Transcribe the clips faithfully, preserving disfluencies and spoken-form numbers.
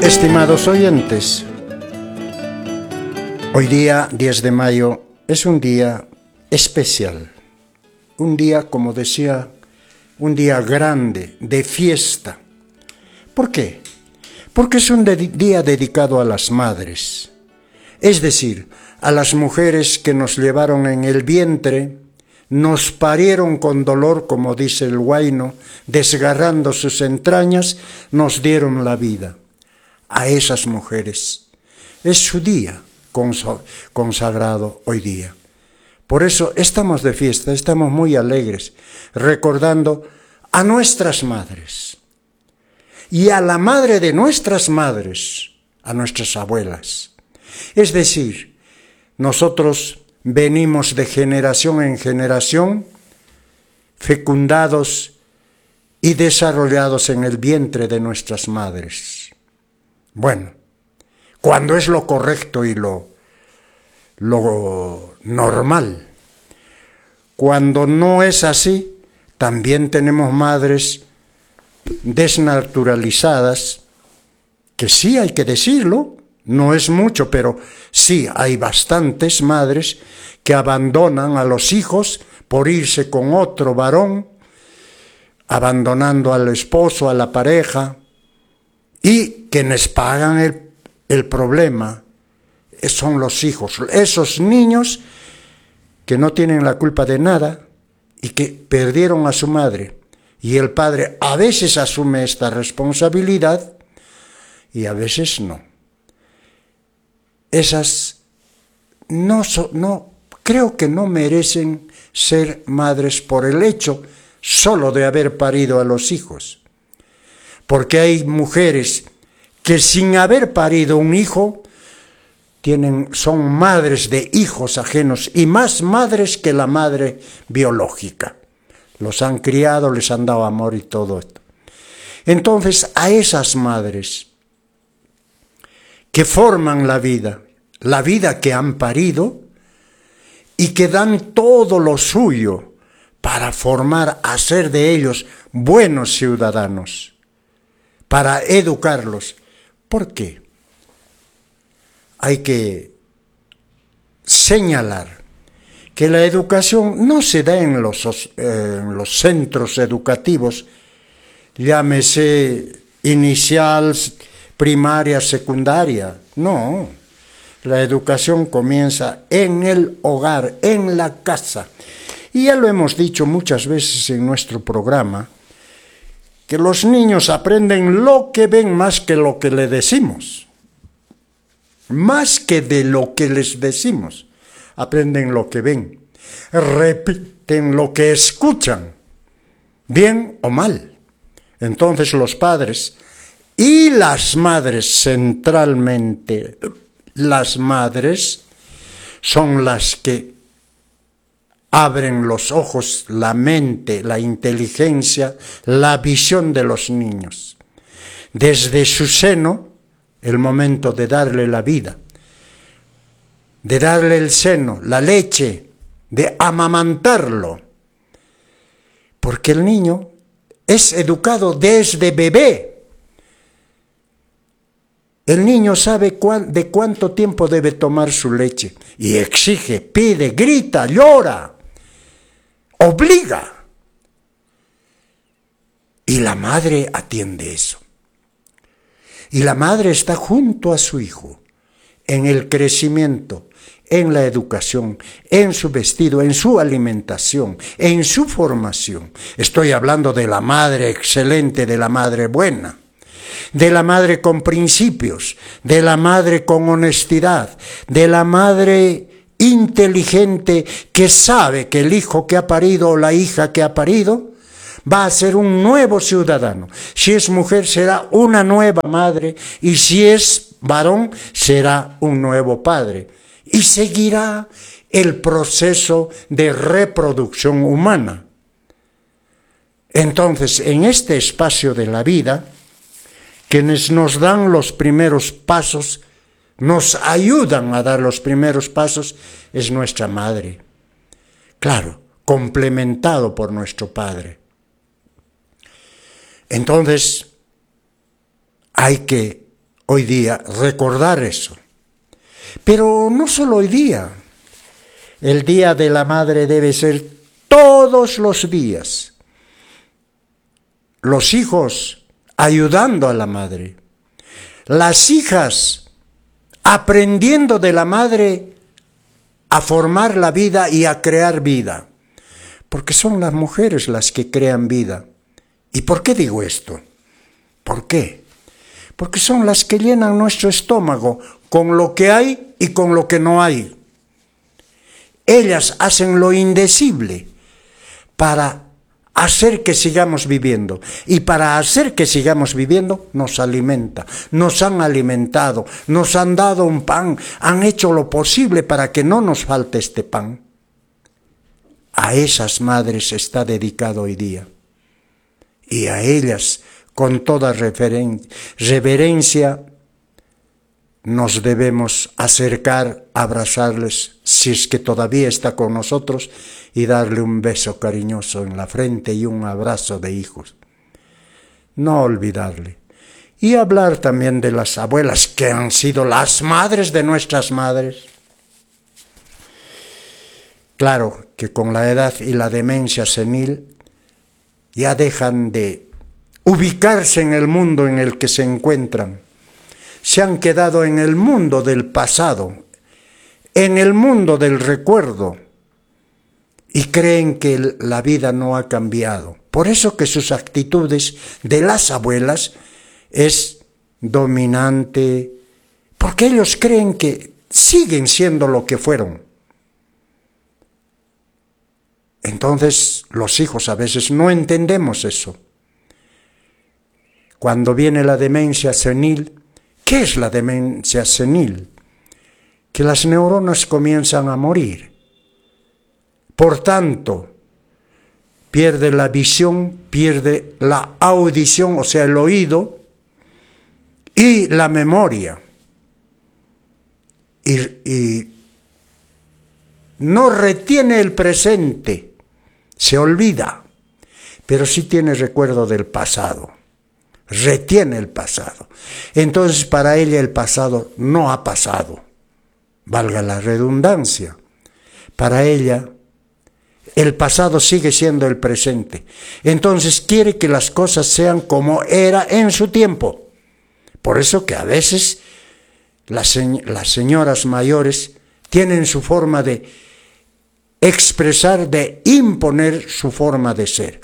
Estimados oyentes, hoy día diez de mayo es un día especial, un día, como decía, un día grande, de fiesta. ¿Por qué? Porque es un de- día dedicado a las madres, es decir, a las mujeres que nos llevaron en el vientre, nos parieron con dolor, como dice el huayno, desgarrando sus entrañas, nos dieron la vida. A esas mujeres es su día consagrado hoy día. Por eso estamos de fiesta, estamos muy alegres, recordando a nuestras madres y a la madre de nuestras madres, a nuestras abuelas. Es decir, nosotros venimos de generación en generación, fecundados y desarrollados en el vientre de nuestras madres. Bueno, cuando es lo correcto y lo, lo normal. Cuando no es así, también tenemos madres desnaturalizadas, que sí hay que decirlo, no es mucho, pero sí hay bastantes madres que abandonan a los hijos por irse con otro varón, abandonando al esposo, a la pareja, y quienes pagan el, el problema son los hijos, esos niños que no tienen la culpa de nada y que perdieron a su madre. Y el padre a veces asume esta responsabilidad y a veces no. Esas no, so, no creo que no merecen ser madres por el hecho solo de haber parido a los hijos. Porque hay mujeres que sin haber parido un hijo tienen, son madres de hijos ajenos y más madres que la madre biológica. Los han criado, les han dado amor y todo esto. Entonces, a esas madres que forman la vida, la vida que han parido y que dan todo lo suyo para formar, hacer de ellos buenos ciudadanos, para educarlos. ¿Por qué? Hay que señalar que la educación no se da en los, eh, en los centros educativos, llámese inicial, primaria, secundaria. No, la educación comienza en el hogar, en la casa. Y ya lo hemos dicho muchas veces en nuestro programa, que los niños aprenden lo que ven más que lo que le decimos. Más que de lo que les decimos. Aprenden lo que ven, repiten lo que escuchan, bien o mal. Entonces los padres y las madres, centralmente, las madres son las que abren los ojos, la mente, la inteligencia, la visión de los niños. Desde su seno, el momento de darle la vida, de darle el seno, la leche, de amamantarlo. Porque el niño es educado desde bebé. El niño sabe cuán, de cuánto tiempo debe tomar su leche y exige, pide, grita, llora, obliga. Y la madre atiende eso. Y la madre está junto a su hijo en el crecimiento, en la educación, en su vestido, en su alimentación, en su formación. Estoy hablando de la madre excelente, de la madre buena, de la madre con principios, de la madre con honestidad, de la madre inteligente que sabe que el hijo que ha parido o la hija que ha parido va a ser un nuevo ciudadano. Si es mujer será una nueva madre y si es varón será un nuevo padre. Y seguirá el proceso de reproducción humana. Entonces, en este espacio de la vida, quienes nos dan los primeros pasos, nos ayudan a dar los primeros pasos, es nuestra madre. Claro, complementado por nuestro padre. Entonces, hay que Hoy día recordar eso. Pero no solo hoy día. El Día de la Madre debe ser todos los días. Los hijos ayudando a la madre. Las hijas aprendiendo de la madre a formar la vida y a crear vida. Porque son las mujeres las que crean vida. ¿Y por qué digo esto? ¿Por qué? Porque son las que llenan nuestro estómago con lo que hay y con lo que no hay. Ellas hacen lo indecible para hacer que sigamos viviendo. Y para hacer que sigamos viviendo, nos alimenta. Nos han alimentado, nos han dado un pan, han hecho lo posible para que no nos falte este pan. A esas madres está dedicado hoy día. Y a ellas, con toda reverencia, nos debemos acercar, abrazarles, si es que todavía está con nosotros, y darle un beso cariñoso en la frente y un abrazo de hijos. No olvidarle. Y hablar también de las abuelas, que han sido las madres de nuestras madres. Claro que con la edad y la demencia senil ya dejan de ubicarse en el mundo en el que se encuentran. Se han quedado en el mundo del pasado, en el mundo del recuerdo, y creen que la vida no ha cambiado. Por eso que sus actitudes de las abuelas es dominante, porque ellos creen que siguen siendo lo que fueron. Entonces los hijos a veces no entendemos eso. Cuando viene la demencia senil, ¿qué es la demencia senil? Que las neuronas comienzan a morir. Por tanto, pierde la visión, pierde la audición, o sea, el oído, y la memoria. Y, y no retiene el presente, se olvida, pero sí tiene recuerdo del pasado. Retiene el pasado. Entonces para ella el pasado no ha pasado, valga la redundancia. Para ella el pasado sigue siendo el presente. Entonces quiere que las cosas sean como era en su tiempo. Por eso que a veces las, las señoras mayores tienen su forma de expresar, de imponer su forma de ser.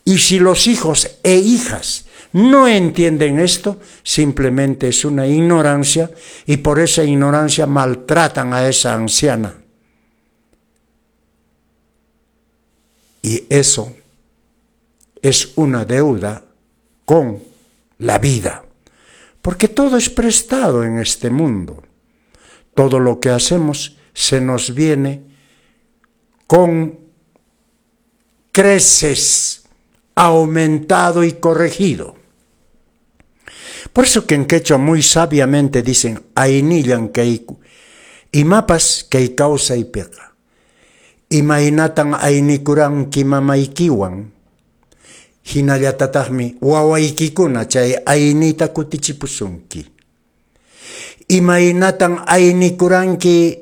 Y si los hijos e hijas no entienden esto, simplemente es una ignorancia, y por esa ignorancia maltratan a esa anciana. Y eso es una deuda con la vida, porque todo es prestado en este mundo. Todo lo que hacemos se nos viene con creces, aumentado y corregido. Por eso que en quechua muy sabiamente dicen aynillan kayku, imapas kay kawsaypiqa, imaynatan aynikuranki mamaykiwan, hinallatataqmi wawaykikuna chay aynita kutichipusunki. Imaynatan aynikuranki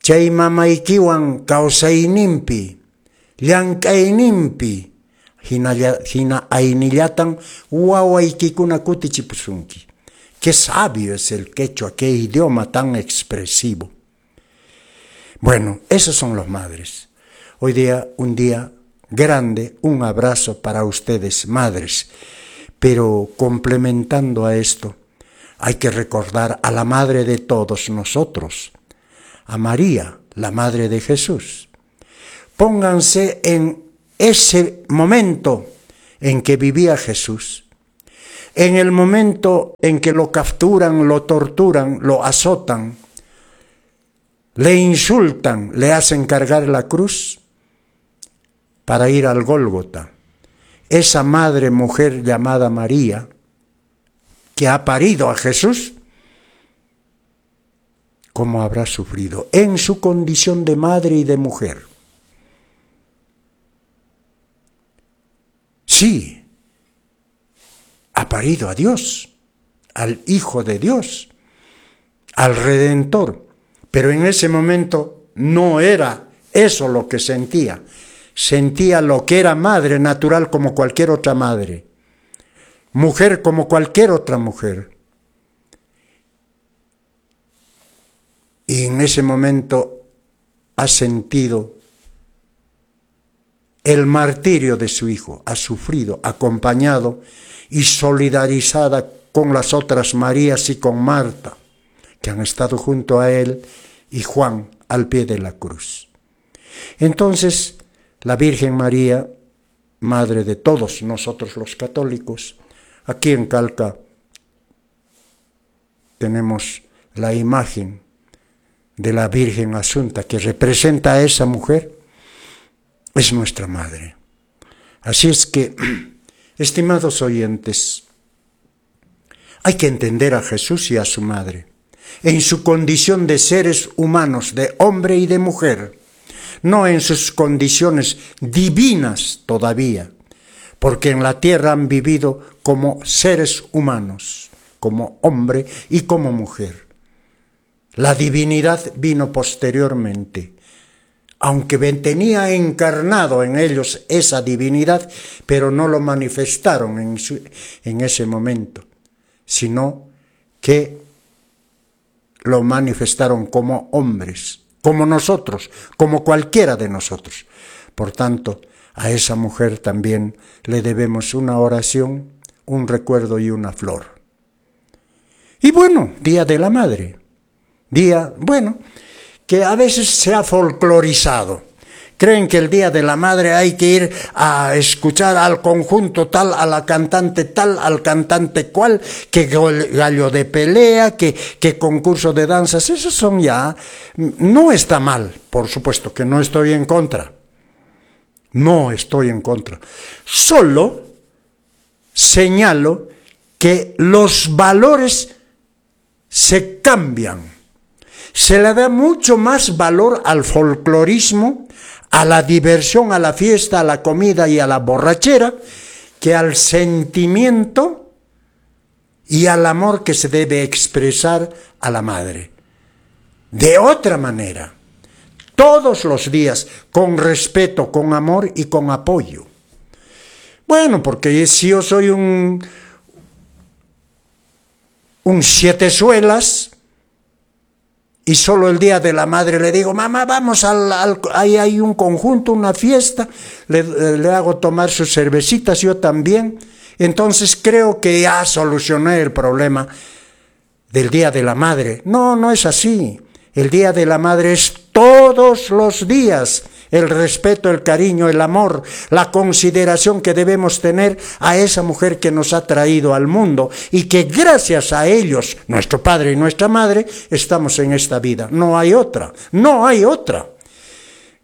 chay mamaykiwan kawsayninpi, llank'ayninpi, hinalla, hina aynillatan wawaykikuna kutichipusunki. Qué sabio es el quechua, qué idioma tan expresivo. Bueno, esos son los madres. Hoy día, un día grande, un abrazo para ustedes, madres. Pero complementando a esto, hay que recordar a la madre de todos nosotros, a María, la madre de Jesús. Pónganse en ese momento en que vivía Jesús, en el momento en que lo capturan, lo torturan, lo azotan, le insultan, le hacen cargar la cruz para ir al Gólgota. Esa madre mujer llamada María, que ha parido a Jesús, ¿cómo habrá sufrido en su condición de madre y de mujer? Sí, ha parido a Dios, al Hijo de Dios, al Redentor. Pero en ese momento no era eso lo que sentía. Sentía lo que era madre natural como cualquier otra madre, mujer como cualquier otra mujer. Y en ese momento ha sentido el martirio de su hijo, ha sufrido, acompañado y solidarizada con las otras Marías y con Marta, que han estado junto a él y Juan al pie de la cruz. Entonces, la Virgen María, madre de todos nosotros los católicos, aquí en Calca tenemos la imagen de la Virgen Asunta, que representa a esa mujer, es nuestra madre. Así es que, estimados oyentes, hay que entender a Jesús y a su madre en su condición de seres humanos, de hombre y de mujer, no en sus condiciones divinas todavía, porque en la tierra han vivido como seres humanos, como hombre y como mujer. La divinidad vino posteriormente, aunque tenía encarnado en ellos esa divinidad, pero no lo manifestaron en, su, en ese momento, sino que lo manifestaron como hombres, como nosotros, como cualquiera de nosotros. Por tanto, a esa mujer también le debemos una oración, un recuerdo y una flor. Y bueno, Día de la Madre. Día, bueno, que a veces se ha folclorizado. Creen que el Día de la Madre hay que ir a escuchar al conjunto tal, a la cantante tal, al cantante cual, que gallo de pelea, que, que concurso de danzas. Esos son ya... No está mal, por supuesto que no estoy en contra. No estoy en contra. Solo señalo que los valores se cambian. Se le da mucho más valor al folclorismo, a la diversión, a la fiesta, a la comida y a la borrachera, que al sentimiento y al amor que se debe expresar a la madre. De otra manera, todos los días, con respeto, con amor y con apoyo. Bueno, porque si yo soy un, un siete suelas, y solo el Día de la Madre le digo, mamá, vamos, al, al, ahí hay un conjunto, una fiesta, le, le hago tomar sus cervecitas, yo también. Entonces creo que ya solucioné el problema del Día de la Madre. No, no es así. El Día de la Madre es todos los días. El respeto, el cariño, el amor, la consideración que debemos tener a esa mujer que nos ha traído al mundo y que gracias a ellos, nuestro padre y nuestra madre, estamos en esta vida. No hay otra, no hay otra.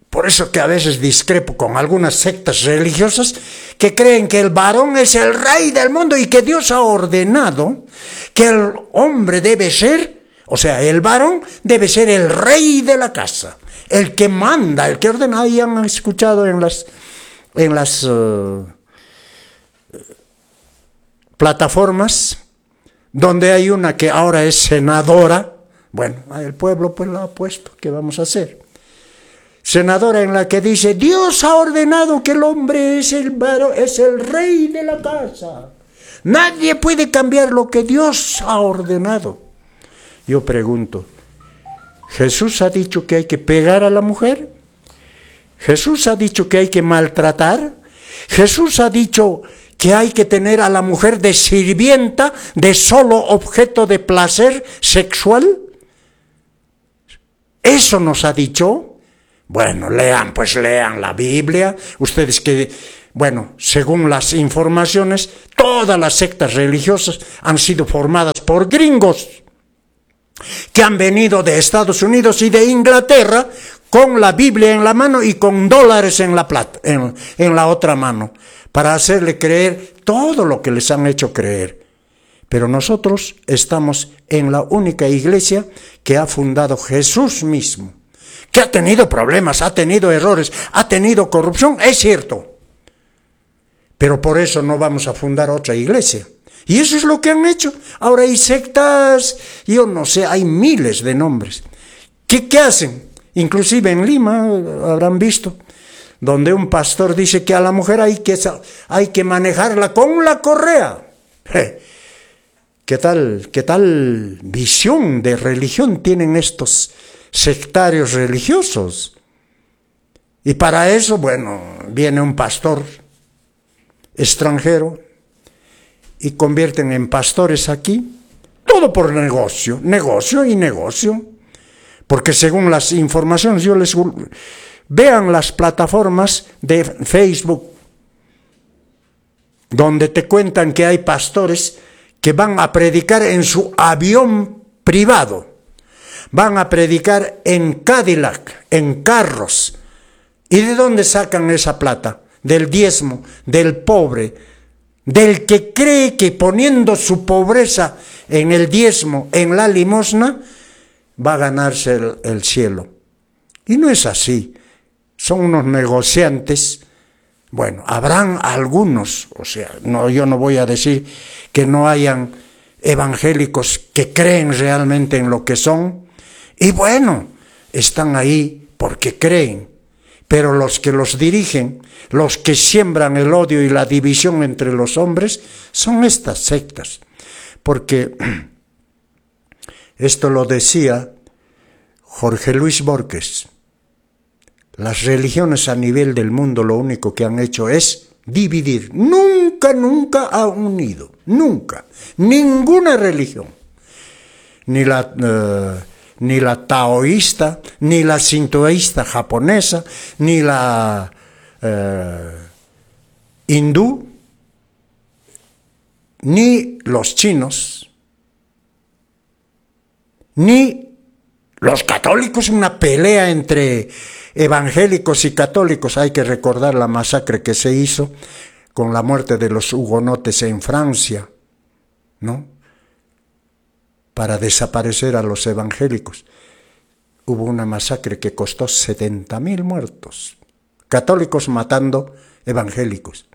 Por eso que a veces discrepo con algunas sectas religiosas que creen que el varón es el rey del mundo y que Dios ha ordenado que el hombre debe ser, o sea, el varón debe ser el rey de la casa. El que manda, el que ordena. Ahí han escuchado en las, en las uh, plataformas, donde hay una que ahora es senadora. Bueno, el pueblo pues la ha puesto, ¿qué vamos a hacer? Senadora en la que dice, Dios ha ordenado que el hombre es el varón, es el rey de la casa. Nadie puede cambiar lo que Dios ha ordenado. Yo pregunto, ¿Jesús ha dicho que hay que pegar a la mujer? ¿Jesús ha dicho que hay que maltratar? ¿Jesús ha dicho que hay que tener a la mujer de sirvienta, de solo objeto de placer sexual? ¿Eso nos ha dicho? Bueno, lean, pues lean la Biblia. Ustedes que, bueno, según las informaciones, todas las sectas religiosas han sido formadas por gringos que han venido de Estados Unidos y de Inglaterra con la Biblia en la mano y con dólares en la plata, en, en la otra mano, para hacerle creer todo lo que les han hecho creer. Pero nosotros estamos en la única iglesia que ha fundado Jesús mismo, que ha tenido problemas, ha tenido errores, ha tenido corrupción, es cierto. Pero por eso no vamos a fundar otra iglesia. Y eso es lo que han hecho. Ahora hay sectas, yo no sé, hay miles de nombres. ¿Qué, qué hacen? Inclusive en Lima, habrán visto, donde un pastor dice que a la mujer hay que, hay que manejarla con la correa. ¿Qué tal, qué tal visión de religión tienen estos sectarios religiosos? Y para eso, bueno, viene un pastor extranjero y convierten en pastores aquí, todo por negocio, negocio y negocio. Porque según las informaciones, yo les... Vean las plataformas de Facebook, donde te cuentan que hay pastores que van a predicar en su avión privado, van a predicar en Cadillac, en carros. ¿Y de dónde sacan esa plata? Del diezmo, del pobre, del que cree que poniendo su pobreza en el diezmo, en la limosna, va a ganarse el, el cielo. Y no es así. Son unos negociantes. Bueno, habrán algunos, o sea, no, yo no voy a decir que no hayan evangélicos que creen realmente en lo que son, y bueno, están ahí porque creen, pero los que los dirigen, los que siembran el odio y la división entre los hombres, son estas sectas. Porque esto lo decía Jorge Luis Borges. Las religiones a nivel del mundo lo único que han hecho es dividir. Nunca, nunca ha unido. Nunca. Ninguna religión. Ni la, eh, ni la taoísta, ni la sintoísta japonesa, ni la eh, hindú, ni los chinos, ni los católicos. Una pelea entre evangélicos y católicos. Hay que recordar la masacre que se hizo con la muerte de los hugonotes en Francia, ¿no? Para desaparecer a los evangélicos. Hubo una masacre que costó setenta mil muertos. Católicos matando evangélicos.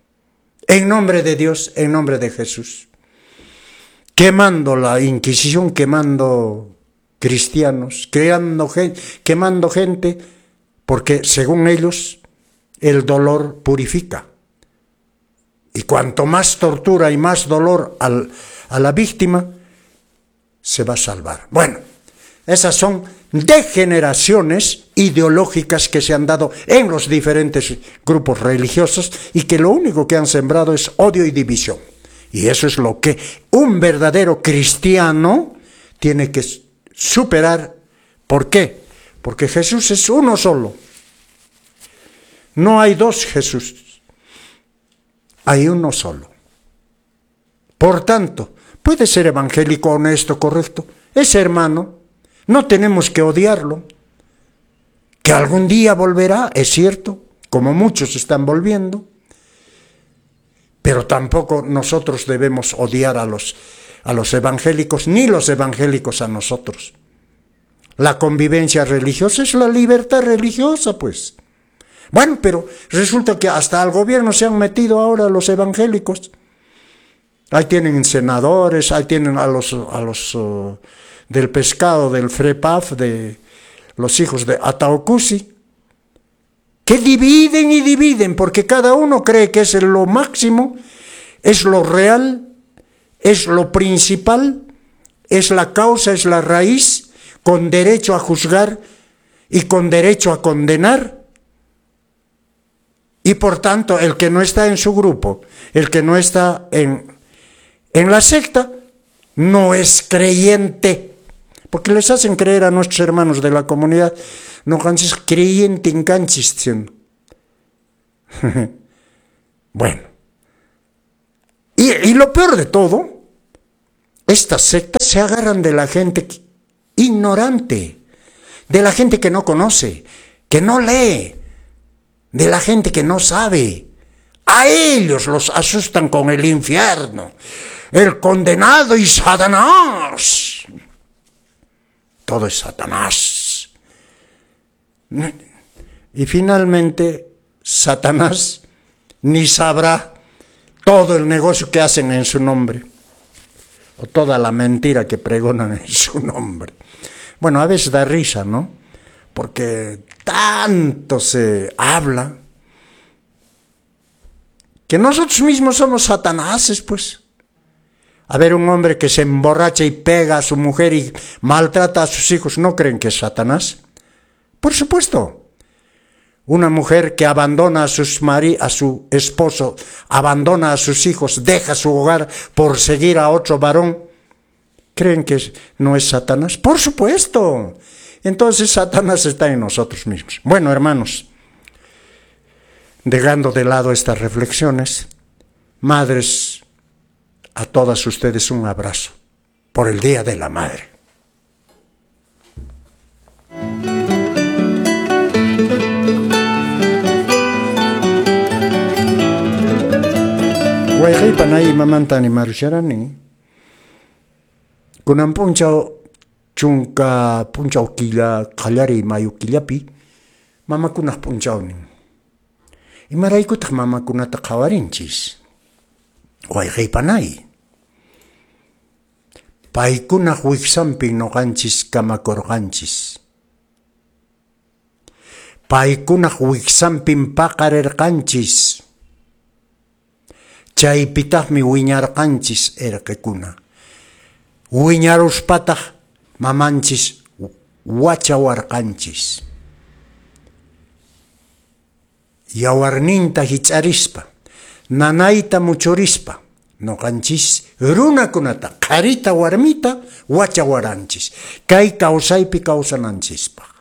En nombre de Dios, en nombre de Jesús. Quemando la Inquisición, quemando cristianos, creando, quemando gente, porque según ellos el dolor purifica. Y cuanto más tortura y más dolor al, a la víctima, se va a salvar. Bueno, esas son degeneraciones ideológicas que se han dado en los diferentes grupos religiosos y que lo único que han sembrado es odio y división. Y eso es lo que un verdadero cristiano tiene que superar. ¿Por qué? Porque Jesús es uno solo. No hay dos Jesús. Hay uno solo. Por tanto, puede ser evangélico, honesto, correcto. Es hermano. No tenemos que odiarlo. Que algún día volverá, es cierto, como muchos están volviendo. Pero tampoco nosotros debemos odiar a los, a los evangélicos, ni los evangélicos a nosotros. La convivencia religiosa es la libertad religiosa, pues. Bueno, pero resulta que hasta al gobierno se han metido ahora los evangélicos. Ahí tienen senadores, ahí tienen a los, a los uh, del pescado, del FREPAF, de los hijos de Ataucusi, que dividen y dividen, porque cada uno cree que es lo máximo, es lo real, es lo principal, es la causa, es la raíz, con derecho a juzgar y con derecho a condenar. Y por tanto, el que no está en su grupo, el que no está en, en la secta, no es creyente. Porque les hacen creer a nuestros hermanos de la comunidad, no canchis creyente en canchis. Bueno. Y, y lo peor de todo, estas sectas se agarran de la gente ignorante, de la gente que no conoce, que no lee, de la gente que no sabe. A ellos los asustan con el infierno, el condenado y Satanás. Todo es Satanás. Y finalmente, Satanás ni sabrá todo el negocio que hacen en su nombre, o toda la mentira que pregonan en su nombre. Bueno, a veces da risa, ¿no? Porque tanto se habla que nosotros mismos somos satanáses, pues. A ver, un hombre que se emborracha y pega a su mujer y maltrata a sus hijos, ¿no creen que es Satanás? Por supuesto. Una mujer que abandona a, sus mari a su esposo, abandona a sus hijos, deja su hogar por seguir a otro varón, ¿creen que no es Satanás? Por supuesto. Entonces Satanás está en nosotros mismos. Bueno, hermanos, dejando de lado estas reflexiones, madres, a todas ustedes un abrazo por el Día de la Madre. Wayqiypanay mamanta animarusharani. Kunan p'unchaw chunka p'unchaw killa qallariy mayu killapi mamakunaq p'unchawnin. Imaraykutaq mamakunata qhawarinchis? Wayqiypanay. Paykunaq wiksanpi nuqanchis kamakurqanchis. Paykunaq wiksanpin paqarirqanchis. Chaypitaqmi wiñarqanchis erqekuna. Wiñaruspataq mamanchis wachawarqanchis. Yawarninta hich'arispa, nanayta muchurispa, nuqanchis runakunata, qharita warmita wachawaranchis. Kay kawsaypi kawsananchispaq.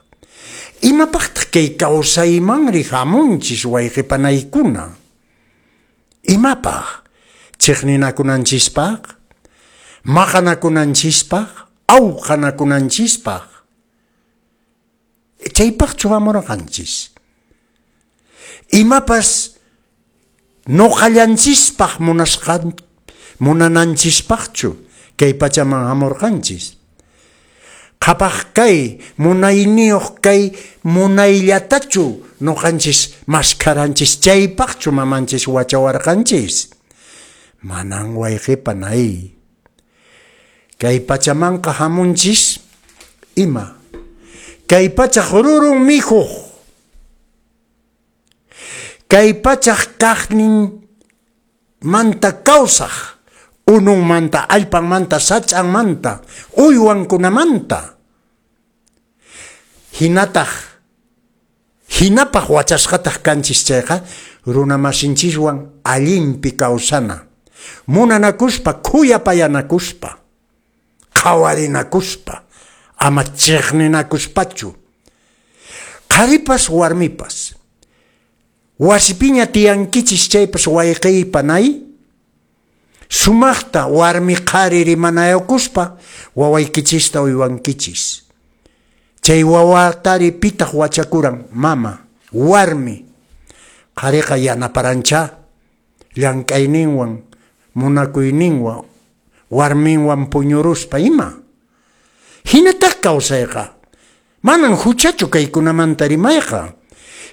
Imapaqtaq kay kawsaymanri hamunchis wayqipanaykuna? Imapaq? Chiqninakunanchispaq, maqanakunanchispaq, awqanakunanchispaq. Chaypaqchu hamurqanchis? Imapas nuqallanchispaq munasqan munananchispaqchu kay pachaman hamurqanchis? Qhapaq kay, munayniyuq kay munayllatachu nuqanchis maskharanchis, chaypaqchu mamanchis wachawarqanchis? Manan wayqipanay. Kay pachamanqa hamunchis ima? Kay pachaq rurun mikhuq. Kay pachaq kaqnin manta kawsaq, ununmanta, allpanmanta, sach'anmanta, uywankunamanta. Hinataq, hinapaq wachasqataq kanchis chayqa, runamasinchiswan allinpi kawsana, munanakuspa, khuyapayanakuspa, qhawarinakuspa, ama chiqninakuspachu. Qharipas warmipas, wasipiña tiyankichis chaypas wayqiypanay, sumaqta warmi qhari rimanayakuspa wawaykichista uywankichis. Chay wawatari pitaq wachakuran? Mama, warmi. Qhariqa yanaparancha llank'ayninwan, munakuyninwan, warminwan puñuruspa ima. Hinataq kawsayqa. Manan huchachu kaykunamanta rimayqa.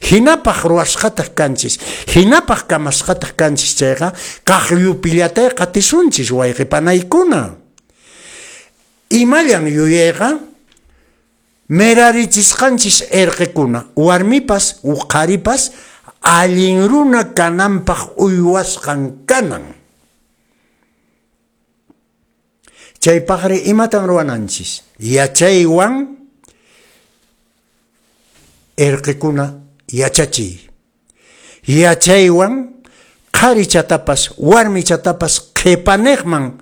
Hinapaq ruwasqataq kanchis, hinapaq kamasqataq kanchis chayqa, kaqllupillatay qatisunchis wayqipanaykuna. Imallan yuyayqa, merarichisqanchis erqekuna, warmipas qharipas allin runa kananpaq uywasqan kanan. Chaypaqri imatan ruwananchis? Yachaywan erqekuna yachachiy. Yachaywan qharichatapas warmichatapas qhipaniqman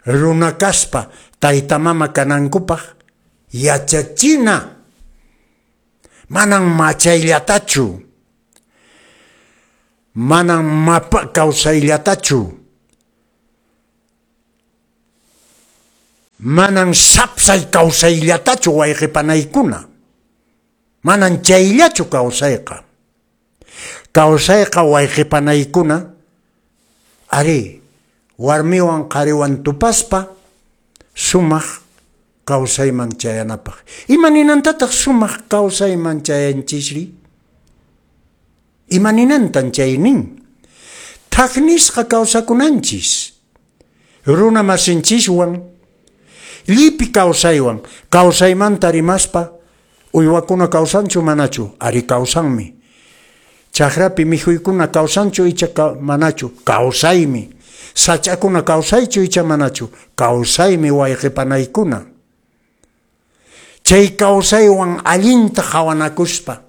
runa kaspa tayta mama kanankupaq yachachina. Manan machayllatachu, manan mapa kawsayllatachu, manan sapsay kawsayllatachu wayqipanaykuna. Manan chayllachu kawsayqa. Kawsayqa wayqipanaykuna, ari, warmiwan qhariwan tupaspa sumaq kawsayman chayanapaq. Ima ninantataq sumaq kawsayman chayanchisri? Ima ninantan chay nin? Thak nisqa kawsakunanchis. Runa masinchiswan, llipi kawsaywan, kawsaymanta rimaspa, uywakuna kawsanchu manachu, ari kawsanmi. Chakrapi mikhuykuna kawsanchu icha manachu, kawsaymi. Sach'akuna kawsaychu icha manachu, kawsaymi wayqipanaykuna. Chay kawsaywan allinta qhawanakuspa,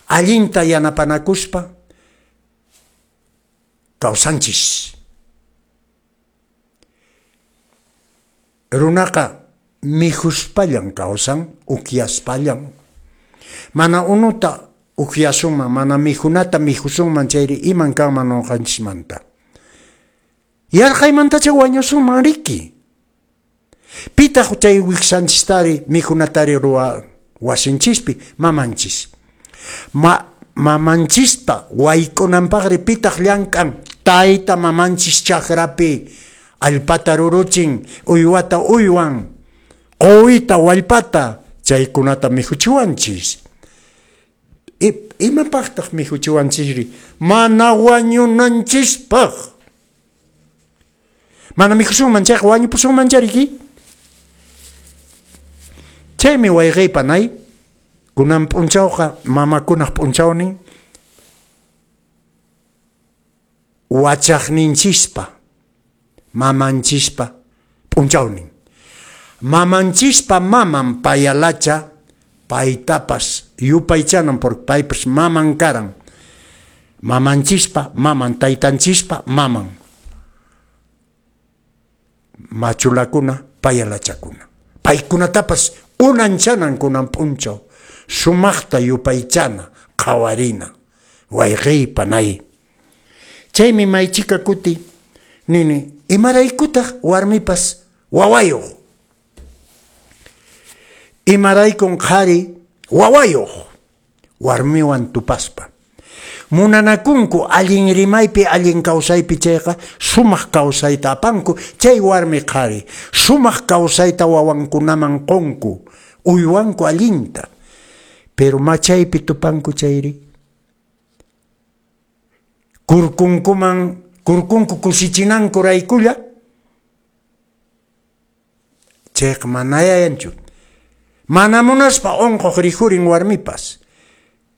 allinta yanapanakuspa, kawsanchis. Runaqa mikhuspallan kawsan, ukyaspallan. Mana unuta ukyasunman, mana mikhunata mikhusunman chayri iman kanman nuqanchismanta. Yarqaymantacha wañusunman riki. Pitaq chay wiksanchistari mikhunatari ruwa wasinchispi mamanchis. Ma, mamanchispa wayk'unanpaqri pitaq llank'an tayta mamanchis chakrapi allpata ruruchin, uywata uywan, quwita wallpata chaykunata mikhuchiwanchis. Imapaqtaq mikhuchiwanchisri? Mana wañunanchispaq. Mana mikhusunman chayqa wañupusunman chariki. Chaymi wayqiypanay kunan p'unchawqa mamakunaq p'unchawnin wachaqninchispa mamanchispa p'unchawnin. Mamanchispa maman payalacha paytapas yupaychanan porque paypas maman karan. Mamanchispa maman, taytanchispa maman. Machulakuna, payalachakuna. Paykunatapas unanchanan kunan p'unchaw. Sumaqta yupaychana, qhawarina, wayqiypanay. Chaymi maychika kuti nini, imaraykutaq warmipas wawayuq. Imaraykun qhari wawayuq warmiwan tupaspa. Munanakunku allin rimaypi allin kawsaypi chayqa sumaq kawsayta apanku chay warmi qhari sumaq kawsayta wawankunaman qunku uywanku allinta. Pero machaypi tupanku chayri kurkunkuman kurkunku kusichinanku raykulla chayqa manayanchu. Mana munaspa unquq rikhurin warmipas.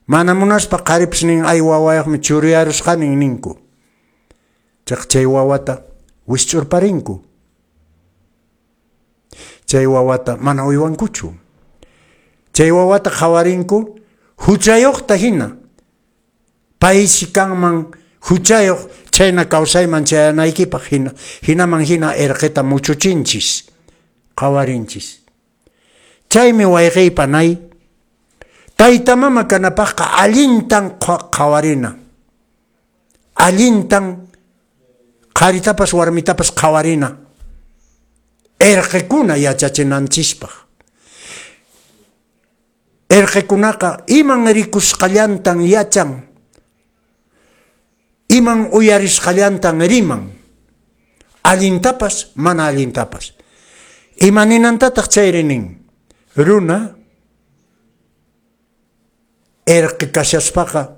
Mana munaspa qharipas nin ay wawayuqmi churiyarusqanin ninku. Chayqa chay wawata wisch'urparinku. Chay wawata mana uywankuchu. Chay wawata qhawarinku huchayuqta hina. Paysi kanman huchayuq chayna kawsayman chayanaykipaq hina. Hinaman hina irqita muchuchinchis, qhawarinchis. Chaymi wayqiypanay tayta mama kanapaqqa allintan qhawarina. Allintan qharitapas warmitapas qhawarina. Irqikuna yachachinanchispaq. Irqikunaqa iman rikusqallantan yachan, iman uyarisqallantan riman. Allintapas mana allintapas. Ima ninantataq chayri nin? Runa irqi kashaspaqa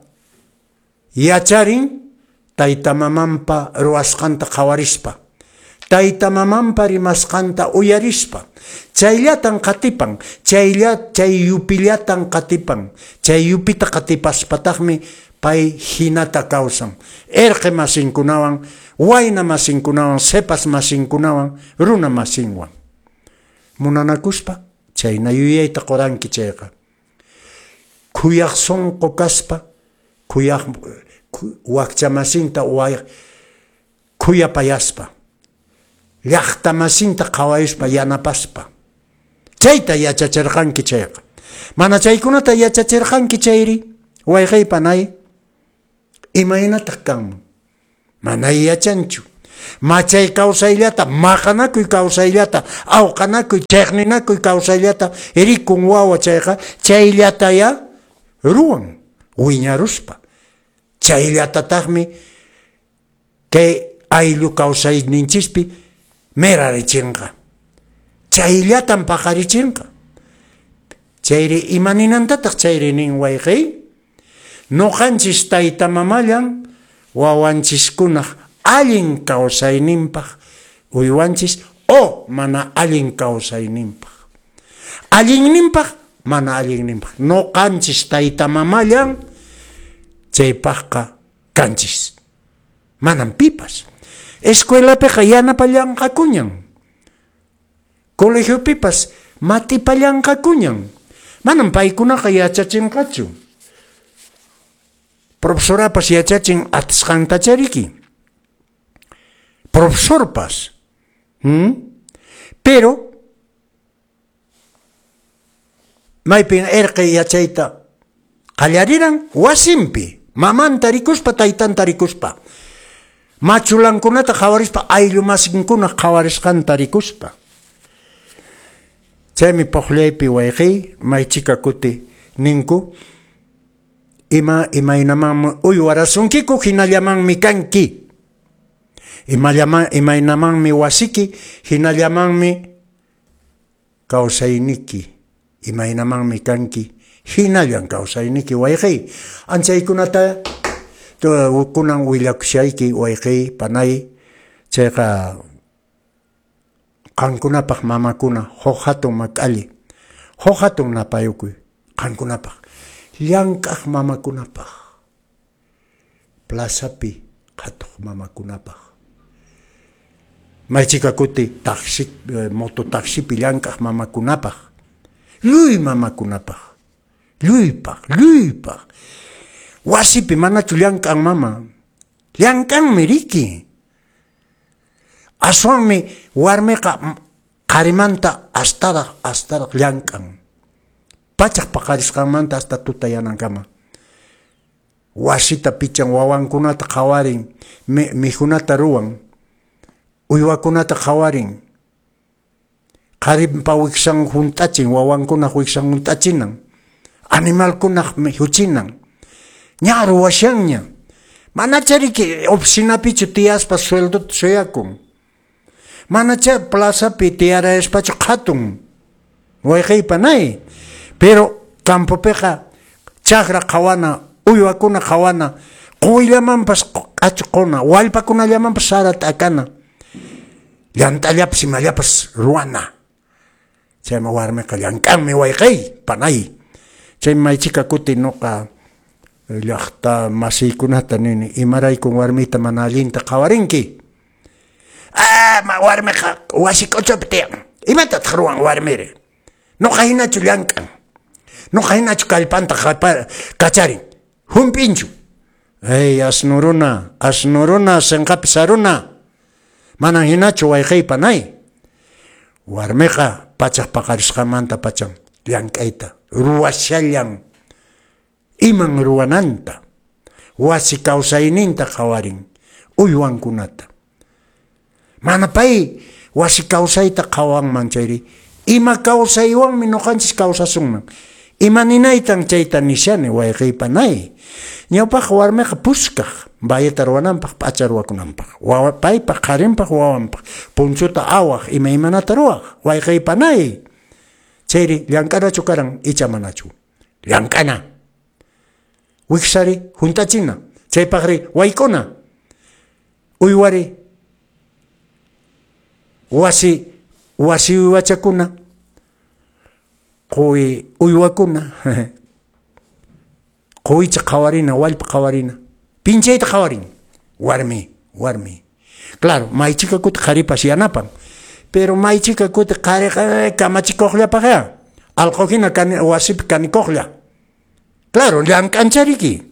yacharin tayta mamanpa ruwasqanta qhawarispa, tayta mamanpa rimasqanta uyarispa, chayllatan qatipan, chaylla chay yupillatan qatipan, chay yupita qatipaspataqmi pay hinata kawsan. Irqi masinkunawan, wayna masinkunawan, sepas masinkunawan, runa masinwan. Munanakuspa chayna yuyayta quranki chayqa. Khuyaq sunqu kaspa, khuyaq wakcha masinta khuyapayaspa, llaqta masinta qhawayuspa yanapaspa. Chayta yachachirqanki chayqa. Mana chaykunata yachachirqanki chayri, wayqiypanay, imaynataq kanman? Mana yachanchu. Machay kawsayllata, maqanakuy kawsayllata, awqanakuy, chiqninakuy kawsayllata rikun wawa chayqa chayllataya ruwan wiñaruspa. Chayllatataqmi kay ayllu kawsayninchispi mirarichinqa. Chayllatan paqarichinqa. Chayri ima ninantataq chayri nin wayqiy? Nuqanchis tayta mamallan wawanchiskunaq Allin kawsayninpaq uywanchis o mana allin kawsayninpaq. Allinninpaq, mana allinninpaq. Noqanchis tayta mamallan chaypaqqa kanchis. Manam pipas. Escuelapiqa yanapallanqakuñan. Colegiopipas matipallanqakuñan. Manam paykunaqa yachachinqachu. Profesorapas yachachin atisqantachariki. Profesorpas. ¿Mm? Pero maypin erqe yachayta qallariran wasinpi, mamanta rikuspa, taytanta rikuspa, machulankunata qhawarispa, ayllu masinkuna qhawarisqanta rikuspa. Chaymi puqllaypi wayqiy maychika kuti ninku ima imaynamanmi uywarasunkiku hinallamanmi kanki. Imallaman imaynamanmi wasiki hinallamanmi kawsayniki, imaynamanmi kanki hinallan kawsayniki wayqiy. Anchaykunata kunan willakushayki wayqiy panay, chayqa qankunapaq mamakuna huk hatun mak'alli, huk hatun napayukuy qankunapaq, llank'aq mamakunapaq, plazapi qhatuq mamakunapaq, maychika kuti taxi, mototaxipi llank'aq mamakunapaq, lluy mamakunapaq, lluypaq, lluypaq. Wasipi manachu llank'an mama, llank'anmi riki. Aswanmi warmiqa qarimanta astaraq astaraq llank'an. Pachaq paqarisqanmanta hasta tutayanankama. Wasita pichan, wawankunata qhawarin, mikhunata ruwan, uywakunata qhawarin. Qarinpa wiksan hunt'achin, wawankunaq wiksan hunt'achinan, animalkunaq mikhuchinan. Ña ruwashanña. Manachariki oficinapichu tiyaspa sueldota suyakun. Manacha plazapi tiyarayaspachu qhatun. Wayqiypa panay. Pero campopiqa chakra qhawana, uywakuna qhawana, quyllamanpas q'achquna, wallpakunallamanpas sara t'akana, llant'allapas imallapas ruwana. Chaymi warmiqa llank'anmi wayqiy panay. Chaymi maychika kuti nuqa llaqta masiykunata nini, imaraykun warmita mana allinta qhawarinki. Ah, ma warmiqa wasi k'uchupi tiyan. Imatataq ruwan warmiri? Nuqa hinachu llank'an. Nuqa hinachu kallpanta kacharin. Hump'inchu. Ey, asnuruna, asnuruna, sinqapi saruna. Manan hinachu wayqiypa panay. Warmiqa pachaq paqarisqanmanta pachan llank'ayta ruwashallan. Iman ruwananta, wasi kawsayninta qhawarin, uywankunata. Mana pay wasi kawsayta qhawanman chayri, ima kawsaywanmi nuqanchis kawsasunman. Ima ninaytan chayta nishani wayqiypa panay. Ñawpaq warmiqa puskaq bayeta ruwananpaq, p'acha ruwakunanpaq, paypaq, qharinpaq, wawanpaq, punchuta awaq, imaymanata ruwaq, wayqiypa panay. Chayri llank'anachu karan icha manachu? Llank'ana. Wiksari hunt'achina, chaypaqri wayk'una, uywari wasi wasi uywachakuna, quwi uywakuna, quwicha qhawarina, wallpa qhawarina, pinchayta qhawarin, warmi, warmi. Claro, maychika kuti qharipas yanapan, pero maychika kuti qhariqa kamachikuqllapaqya, allqu hina wasipi kanikuqlla. Claro, llank'anchariki.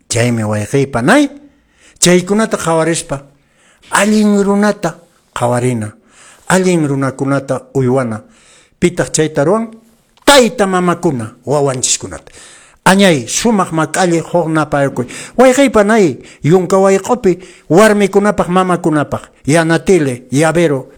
Chaymi wayqiypa panay, chaykunata qhawarispa allin runata qhawarina, allin runakunata uywana. Pitaq chayta ruwan? Tayta mamakuna wawanchiskunata. Añay sumaq mak'alli huk napayukuy. Wayqiypa panay, yunka wayq'upi warmikunapaq mamakunapaq, yanatile, yavero,